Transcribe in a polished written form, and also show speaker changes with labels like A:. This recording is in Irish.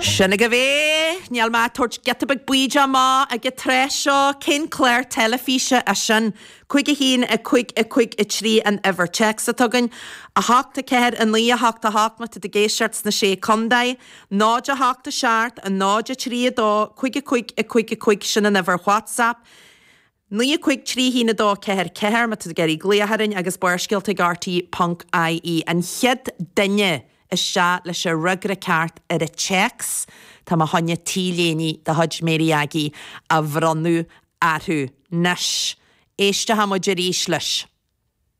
A: Sin agaibh é! Níl mé ag tabhairt giota beag bídeach amach ag an tráth seo. Cén clár teilifíse é sin? 5 1 5 5 3 an uimhir téacs atá againn. 8 4 9 8 8 má tá tú ag éisteacht sna Sé Contae. 0 8 7 0 3 2 5 5 5 5 sin an uimhir WhatsApp. 9 5 3 1 2 4 4 má tá tú ag iarraidh glaoch orainn agus Barrscéalta ag RTÉ ponc ie. An chéad duine isteach leis an fhreagra ceart ar an téacs, tá mé chun T-léine de chuid Mary Aggie a bhronnadh orthu. Anois, éisteoidh muid arís leis.